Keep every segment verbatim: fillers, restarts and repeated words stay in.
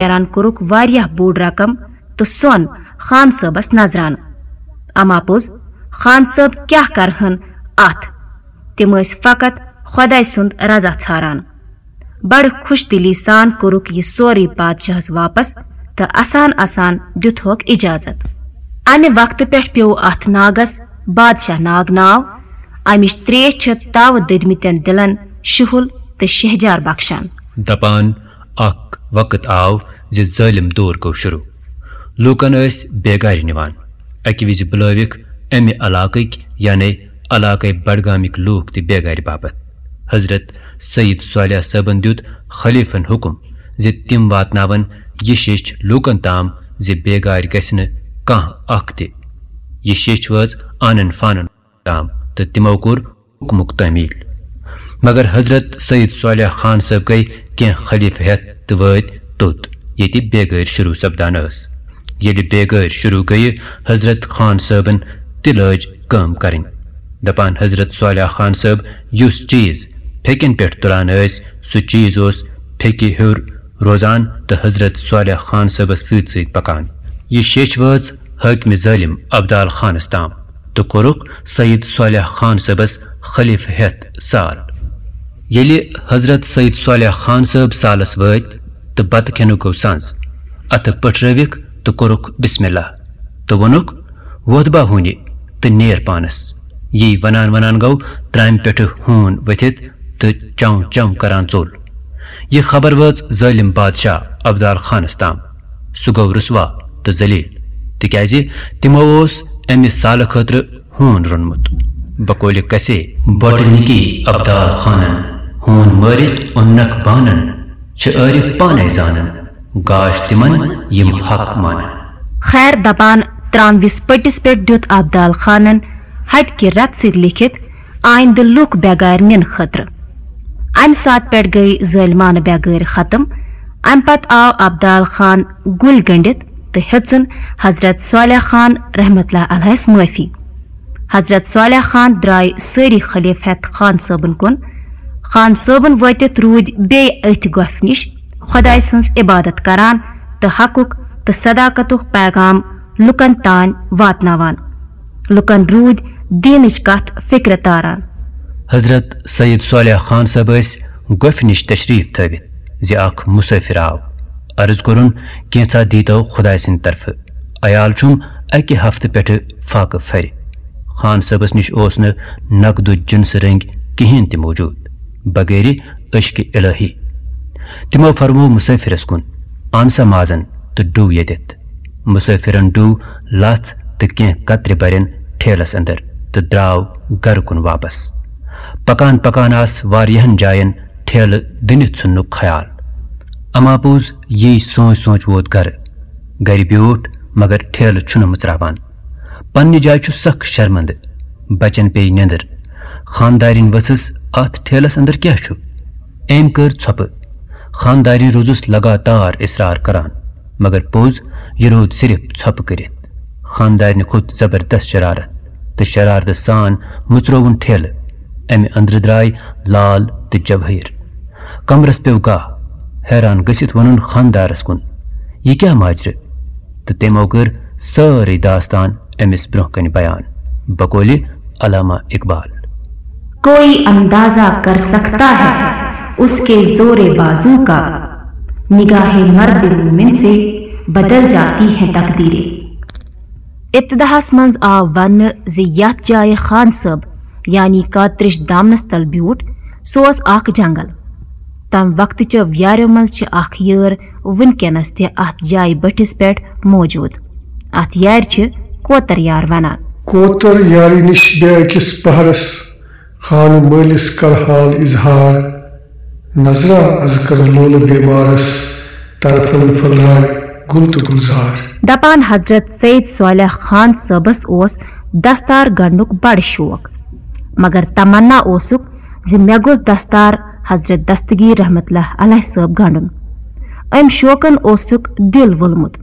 نیران کوٚرُکھ واریاہ بوٚڑ رقم تہٕ سۄن خان صٲبس نظرانہٕ۔ اما پوٚز، خان صٲب کیٛاہ کرہن اتھ؟ تِم ٲسۍ فقط خۄداے سُنٛد رضا ژھاران۔ بڑٕ خۄش دِلی سان کوٚرُکھ یہِ سورُے بادشاہس واپس تہٕ اسان اسان دیُتہوکھ اجازت۔ امہِ وقتہٕ پٮ۪ٹھ پیوٚو اتھ ناگس بادشاہ ناگ ناو۔ امِچ تریش چھِ تاوٕ دٔدمٕتٮ۪ن دِلن شُہُل تہٕ شہجار بخشان۔ دپان اکھ وقت آو زِ ظٲلم دور گوٚو شروع۔ لوٗکن ٲسۍ بیگارِ نِوان۔ اکہِ وِزِ بُلٲوِکھ امہِ علاقٕکۍ، یعنی علاقے بڈگامٕکۍ لوٗکھ تہِ بیگارِ باپتھ۔ حضرت سید صالح صٲبن دیُت خلیفن حکم زِ تِم واتناون یہِ شیٚچھ لوٗکن تام زِ بیگارِ گژھِ نہٕ کانٛہہ اکھ تہِ۔ یہِ شیٚچھ وٲژ آنن فانن تام تہٕ تِمو کوٚر حکمُک تعمیل۔ مگر حضرت سید صالح خان صٲب گٔے کینٛہہ خلیفہٕ ہٮ۪تھ تہٕ وٲتۍ توٚت، ییٚتہِ بیگٲرۍ شروع سپدان ٲس۔ ییٚلہِ بیگٲرۍ شروع گٔیہِ، حضرت خان صٲبن تہِ لٲج کٲم کرٕنۍ۔ دپان حضرت صالح خان صٲب یُس چیز پھیٚکٮ۪ن پٮ۪ٹھ تُلان ٲسۍ، سُہ چیز اوس پھیٚکہِ ہیوٚر روزان تہٕ حضرت صالح خان صٲبس سۭتۍ سۭتۍ پکان۔ یہِ شیٚچھ وٲژ حٲکمہِ ظٲلم ابدال خانس تام تہٕ کوٚرُکھ سید صالح خان صٲبس خلیفہٕ ہٮ۪تھ سال۔ ییٚلہِ حضرت سید صالح خان صٲب سالس وٲتۍ تہٕ بتہٕ کھٮ۪نُک گوٚو سنٛز، اتھٕ پٔٹھرٲوِکھ تہٕ کوٚرُکھ بسم اللہ تہٕ ووٚنُکھ، "وۄتھ با ہوٗنہِ تہٕ نیر پانس۔" یی ونان ونان گوٚو ترامہِ پٮ۪ٹھٕ ہوٗن ؤتھِتھ تہٕ چم چم کران ژوٚل۔ یہِ خبر وٲژ ظٲلم بادشاہ ابدال خانس تام۔ سُہ گوٚو رسوا تہٕ ذلیل، تِکیازِ تِمو اوس امہِ سالہٕ خٲطرٕ ہوٗن روٚنمُت۔ بقولِ کسے بۄٹہٕ نِکی ابدال خانن، ہوٗن مٲرِتھ اوٚننکھ بانن، چھِ عٲرف پانے زانن، گاش تِمن یِم حق مانن۔ خیر دپان تراموِس پٔٹِس پٮ۪ٹھ دیُت ابدال خانن ہٹہِ کہِ رتہٕ سۭتۍ لیکھِتھ آیندٕ لوٗکھ بیگارِ نِنہٕ خٲطرٕ۔ امہِ ساتہٕ پٮ۪ٹھ گٔیہِ ظٲلمانہٕ بیگٲرۍ ختم۔ امہِ پتہٕ آو ابدال خان گُلۍ گٔنڈِتھ تہٕ ہیٚژٕن حضرت صالح خان رحمت اللہ علیہس معٲفی۔ حضرت صالح خان درٛاے سٲری خلیفہٕ ہٮ۪تھ خان صٲبن کُن۔ خان صٲبن وٲتِتھ روٗدۍ بیٚیہِ أتھۍ گۄپھِ نِش خۄداے سٕنٛز عبادت کران تہٕ حقُک تہٕ صداقتُک پیغام لُکن تام واتناوان۔ لُکن روٗدۍ دیٖنٕچ کتھ فکرِ تاران۔ حضرت سید صالح خان صٲب ٲسۍ گۄپھِ نِش تشریف تھٲوِتھ زِ اکھ مسافر آو۔ عرض کوٚرُن، "کینژھا دیٖتو خۄداے سٕنٛدِ طرفہٕ۔ عیال چھُم اکہِ ہفتہٕ پٮ۪ٹھٕ فاقہٕ پھرِ۔" خان صٲبس نِش اوس نہٕ نقدو جنسہٕ رٔنگۍ کِہیٖنۍ تہِ موجود، بغیر عشق الہی۔ تِمو فرموو مسافرس کُن، "اَن سا مازن تہٕ ڈُو ییٚتٮ۪تھ۔" مسافرن ڈُو لژھ تہٕ کینٛہہ کترِ برٮ۪ن ٹھیلس اندر تہٕ درٛاو گرٕ کُن واپس۔ پکان پکان آس واریاہن جاین ٹھیلہٕ دٕنِتھ ژھُننُک خیال۔ اما پوٚز یی سونچ سونچ ووت گرٕ۔ گرِ بیوٗٹھ، مگر ٹھیلہٕ چھُنہٕ مٕژراوان۔ پننہِ جایہِ چھُ سخ شرمندٕ۔ بچن پیٚیہِ نیندٕر۔ خاندارِنۍ ؤژھٕس، "اتھ ٹھیلس اندر کیاہ چھُ؟" أمۍ کٔر ژھۄپہٕ۔ خاندارِنۍ روٗزٕس لگاتار اصرار کران، مگر پوٚز یہِ روٗد صرف ژھۄپہٕ کٔرِتھ۔ خاندارِنہِ کھوٚت زبردست شرارت تہٕ شرارتہٕ سان مٕژرووُن ٹھیلہٕ۔ امہِ اندرٕ درٛاے لال تہٕ جوٲہِر۔ کمرس پیوٚو گاہ۔ حیران گٔژھِتھ ووٚنُن خاندارس کُن، "یہِ کیٛاہ ماجرٕ؟" تہٕ تِمو کٔر سٲرٕے داستان أمِس برٛونٛہہ کنہِ بیان۔ بقولِ علامہ اقبال۔ کوئی اندازہ کر سکتا ہے اس کے زور بازو کا، نگاہ مرد مومن سے بدل جاتی ہیں تقدیریں۔ ابتداہس منٛز آو وننہٕ زِ یتھ جایہِ خان صٲب یعنی کاترِش دامنس تل بیوٗٹھ، سُہ اوس اکھ جنگل۔ تمہِ وقتہٕ چیو یاریو منٛز چھِ اکھ یٲر وُنکیٚنس تہِ اتھ جایہِ بٔٹھِس پٮ۪ٹھ موجود۔ اتھ یارِ چھِ کوتر یار ونان۔ کوتر یارِ نِش بیٚیہِ أکِس پہرس، خانہٕ مٲلِس کر حال اظہار۔ نظرا از کر لولہٕ بیمارس، طرفن پھٔلرائے گُل تہٕ گُلزار۔ دپان حضرت سید صالح خان صٲبس اوس دستار گنڈنُک بڑٕ شوق، مگر تمنا اوسُکھ زِ مےٚ گوٚژھ دستار حضرت دستگیر رحمت اللہ علیہ صٲب گنڈُن۔ أمۍ شوقن اوسُکھ دِل وولمُت۔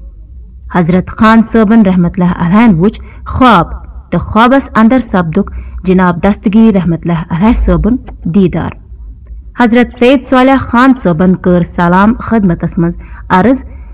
حضرت خان صٲبن رحمت اللہ علیہن وُچھ خواب تہٕ خوابس اندر سپدُکھ جناب دستگیر رحمت اللہ علیہ صٲبُن دیدار۔ حضرت سید صالح خان صٲبن کٔر سلام خدمتس منٛز عرض